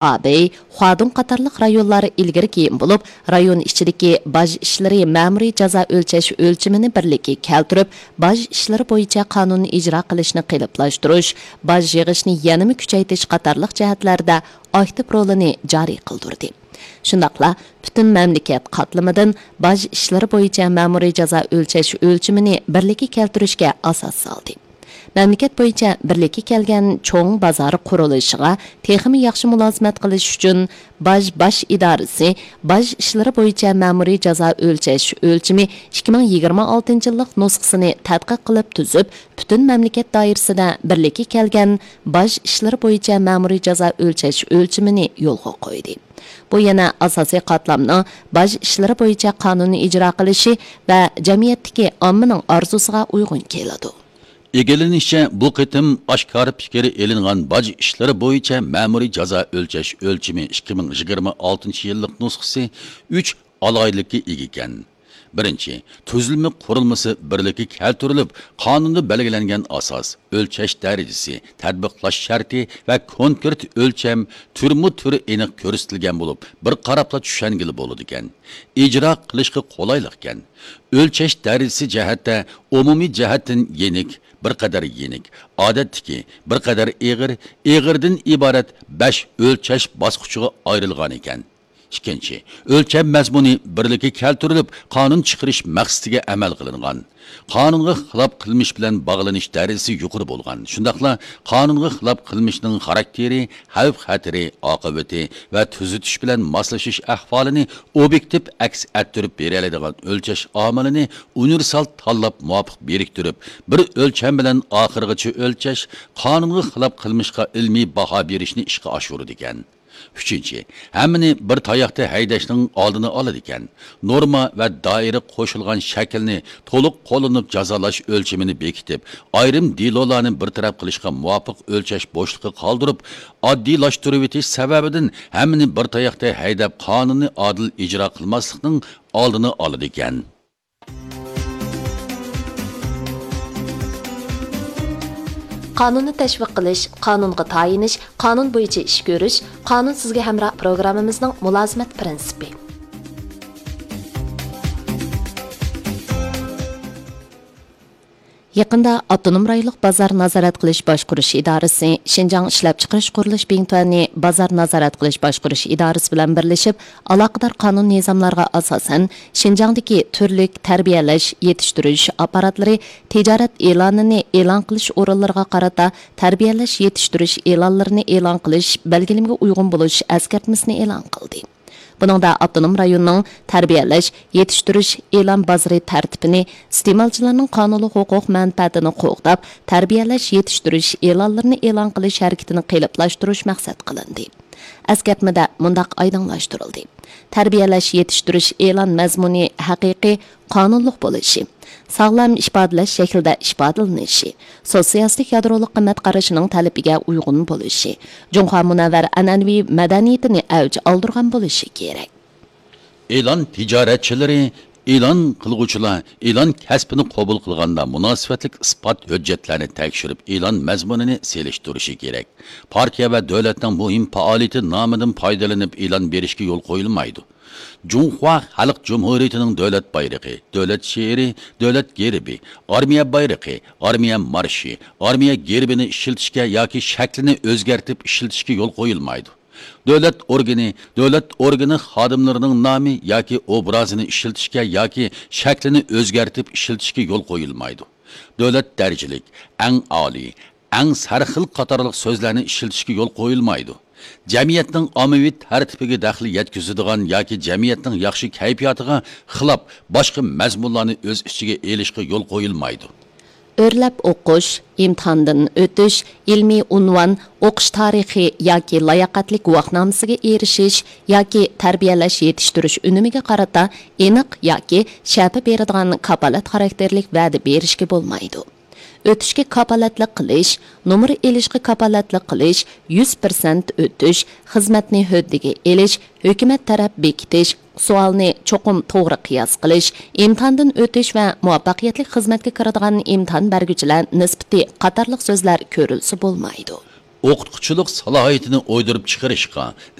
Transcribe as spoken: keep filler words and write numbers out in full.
ئابېي، خۇادۇڭ قاتارلىق رايونلار ئىلگىرى كېيىن بولۇپ، رايون ئىچىدىكى باج ئىشلىرى مەمۇرىي جازا ئۆلچەش ئۆلچىمىنى بىرلىككە كەلتۈرۈپ، باج ئىشلىرى بويىچە قانۇننى ئىجرا قىلىشنى قېلىپلاشتۇرۇش، باج يىغىشنى يەنىمۇ كۈچەيتىش قاتارلىق جەھەتلەردە ئاكتىپ رولىنى جارى قىلدۇردى. شۇنداقلا پۈتۈن مەملىكەت قاتلىمىدىن باج ئىشلىرى بويىچە مەمۇرىي جازا ئۆلچەش ئۆلچىمىنى بىرلىككە كەلتۈرۈشكە ئاساس سالدى. مەملىكەت بويىچە بىرلىككە كەلگەن چوڭ بازار قۇرۇلۇشىغا تېخىمۇ ياخشى مۇلازىمەت قىلىش ئۈچۈن، باج باش ئىدارىسى باج ئىشلىرى بويىچە مەمۇرىي جازا ئۆلچەش ئۆلچىمى ئىككى مىڭ يىگىرمە ئالتىنچى يىللىق نۇسخىسىنى تەتقىق قىلىپ تۈزۈپ، پۈتۈن مەملىكەت دائىرىسىدە بىرلىككە كەلگەن باج ئىشلىرى بويىچە مەمۇرىي جازا ئۆلچەش ئۆلچىمىنى يولغا قويدى. بۇ يەنە ئاساسىي قاتلامنىڭ باج ئىشلىرى بويىچە قانۇننى ئىجرا قىلىشى ۋە جەمئىيەتتىكى ئاممىنىڭ ئارزۇسىغا ئۇيغۇن كېلىدۇ. ئىگىلىنىشىچە، بۇ قېتىم ئاشكارا پىكرى ئېلىنغان باج ئىشلىرى بويىچە مەمۇرىي جازا ئۆلچەش ئۆلچىمى ئىككى مىڭ يىگىرمە ئالتىنچى يىللىق نۇسخىسى ئۈچ ئالاھىدىلىككە ئىگە ئىكەن. بىرىنچى، تۈزۈلمە قۇرۇلمىسى بىرلىككە كەلتۈرۈلۈپ، قانۇندا بەلگىلەنگەن ئاساس، ئۆلچەش دەرىجىسى، تەتبىقلاش شەرتى ۋە كونكرېت ئۆلچەم تۈرمۇ تۈر ئېنىق كۆرسىتىلگەن بولۇپ، بىر قاراپلا چۈشەنگىلى بولىدىكەن. ئىجرا قىلىشقا قولايلىقكەن. ئۆلچەش دەرىجىسى جەھەتتە ئومۇمىي جەھەتتىن يېنىك، بىر قەدەر يېنىك، ئادەتتىكى، بىر قەدەر ئېغىر، ئېغىردىن ئىبارەت بەش ئۆلچەش باسقۇچىغا ئايرىلغان ئىكەن. ئىككىنچى، ئۆلچەم مەزمۇنى بىرلىككە كەلتۈرۈلۈپ، قانۇن چىقىرىش مەقسىتىگە ئەمەل قىلىنغان. قانۇنغا خىلاپ قىلمىش بىلەن باغلىنىش دەرىجىسى يۇقىرى بولغان، شۇنداقلا قانۇنغا خىلاپ قىلمىشنىڭ خاراكتېرى، خەۋپ-خەتىرى، ئاقىۋىتى ۋە تۈزىتىش بىلەن ماسلىشىش ئەھۋالىنى ئوبيېكتىپ ئەكس ئەتتۈرۈپ بېرەلەيدىغان ئۆلچەش ئامىلىنى ئۇنىۋېرسال تاللاپ مۇۋاپىق بىرىكتۈرۈپ، بىر ئۆلچەم بىلەن ئاخىرغىچە ئۆلچەش، قانۇنغا خىلاپ قىلمىشقا ئىلمىي باھا بېرىشنى ئىشقا ئاشۇرىدىكەن. ئۈچىنچى، ھەممىنى بىر تاياقتا ھەيدەشنىڭ ئالدىنى ئالىدىكەن. نورما ۋە دائىرە قوشۇلغان شەكىلنى تولۇق قوللىنىپ جازالاش ئۆلچىمىنى بېكىتىپ، ئايرىم دېلولارنى بىر تەرەپ قىلىشقا مۇۋاپىق ئۆلچەش بوشلۇقى قالدۇرۇپ، ئاددىيلاشتۇرۇۋېتىش سەۋەبىدىن ھەممىنى بىر تاياقتا ھەيدەپ، قانۇننى ئادىل ئىجرا قىلماسلىقنىڭ ئالدىنى ئالىدىكەن. قانۇننى تەشۋىق قىلىش، قانۇنغا تايىنىش، قانۇن بويىچە ئىش كۆرۈش، قانۇن سىزگە ھەمراھ پروگراممىمىزنىڭ مۇلازىمەت پىرىنسىپى. يېقىندا ئاپتونوم رايونلۇق بازار نازارەت قىلىش باشقۇرۇش ئىدارىسى، شىنجاڭ ئىشلەپچىقىرىش قۇرۇلۇش بىڭتۈەنى بازار نازارەت قىلىش باشقۇرۇش ئىدارىسى بىلەن بىرلىشىپ، ئالاقىدار قانۇن نىزاملارغا ئاساسەن، شىنجاڭدىكى تۈرلۈك تەربىيەلەش، يېتىشتۈرۈش ئاپپاراتلىرى تىجارەت ئېلانىنى ئېلان قىلىش ئورۇنلىرىغا قارىتا تەربىيەلەش، يېتىشتۈرۈش ئېلانلىرىنى ئېلان قىلىش بەلگىلىمىگە ئۇيغۇن بولۇش ئەسكەرتمىسىنى ئېلان قىلدى. بۇنىڭدا ئاپتونوم رايوننىڭ تەربىيەلەش، يېتىشتۈرۈش ئېلان بازىرى تەرتىپىنى، ئىستېمالچىلارنىڭ قانۇنلۇق ھوقۇق مەنپەئەتىنى قوغداپ، تەربىيەلەش، يېتىشتۈرۈش ئېلانلىرىنى ئېلان قىلىش ھەرىكىتىنى قېلىپلاشتۇرۇش مەقسەت قىلىندى. ئەسكەرتمىدە مۇنداق ئايدىڭلاشتۇرۇلدى: تەربىيەلەش، يېتىشتۈرۈش ئېلان مەزمۇنى ھەقىقىي، قانۇنلۇق بولۇشى، ساغلام ئىپادىلەش شەكلىدە ئىپادىلىنىشى، سوتسىيالىستىك يادرولۇق قىممەت قارىشىنىڭ تەلىپىگە ئۇيغۇن بولۇشى، جۇڭخۇا مۇنەۋۋەر ئەنئەنىۋى مەدەنىيىتىنى ئەۋج ئالدۇرغان بولۇشى كېرەك. ئېلان تىجارەتچىلىرى، ئېلان قىلغۇچىلار ئېلان كەسپىنى قوبۇل قىلغاندا مۇناسىۋەتلىك ئىسپات ھۆججەتلەرنى تەكشۈرۈپ، ئېلان مەزمۇنىنى سېلىشتۇرۇشى كېرەك. پارتىيە ۋە دۆلەتنىڭ مۇھىم پائالىيىتى نامىدىن پايدىلىنىپ ئېلان بېرىشكە يول قويۇلمايدۇ. جۇڭخۇا خەلق جۇمھۇرىيىتىنىڭ دۆلەت بايرىقى، دۆلەت شېئىرى، دۆلەت گېربى، ئارمىيە بايرىقى، ئارمىيە مارشى، ئارمىيە گېربىنى ئىشلىتىشكە ياكى شەكلىنى ئۆزگەرتىپ ئىشلىتىشكە يول قويۇلمايدۇ. دۆلەت ئورگىنى، دۆلەت ئورگىنى خادىملىرىنىڭ نامى ياكى ئوبرازىنى ئىشلىتىشكە ياكى شەكلىنى ئۆزگەرتىپ ئىشلىتىشكە يول قويۇلمايدۇ. دۆلەت دەرىجىلىك، ئەڭ ئالىي، ئەڭ سەرخىل قاتارلىق سۆزلەرنى ئىشلىتىشكە يول قويۇلمايدۇ. جەمئىيەتنىڭ ئاممىۋى تەرتىپىگە دەخلى يەتكۈزىدىغان ياكى جەمئىيەتنىڭ ياخشى كەيپىياتىغا خىلاپ باشقا مەزمۇنلارنى ئۆز ئىچىگە ئېلىشقا يول قويۇلمايدۇ. ئۆرلەپ ئوقۇش، ئىمتىھاندىن ئۆتۈش، ئىلمىي ئۇنۋان، ئوقۇش تارىخى ياكى لاياقەتلىك گۇۋاھنامىسىگە ئېرىشىش ياكى تەربىيەلەش يېتىشتۈرۈش ئۈنۈمىگە قارىتا ئېنىق ياكى شەپە بېرىدىغان كاپالەت خاراكتېرلىك ۋەدە بېرىشكە بولمايدۇ. ئۆتۈشكە كاپالەتلىك قىلىش، نومۇر ئېلىشقا كاپالەتلىك قىلىش، يۈز پىرسەنت ئۆتۈش، خىزمەتنى ھۆددىگە ئېلىش، ھۆكۈمەت تەرەپ بېكىتىش، سوئالنى چوقۇم توغرا قىياس قىلىش، ئىمتىھاندىن ئۆتۈش ۋە مۇۋەپپەقىيەتلىك خىزمەتكە كىرىدىغان ئىمتىھان بەرگۈچىلەر نىسبىتى قاتارلىق سۆزلەر كۆرۈلسە بولمايدۇ. ئوقۇتقۇچىلىق سالاھىيىتىنى ئويدۇرۇپ چىقىرىشقا،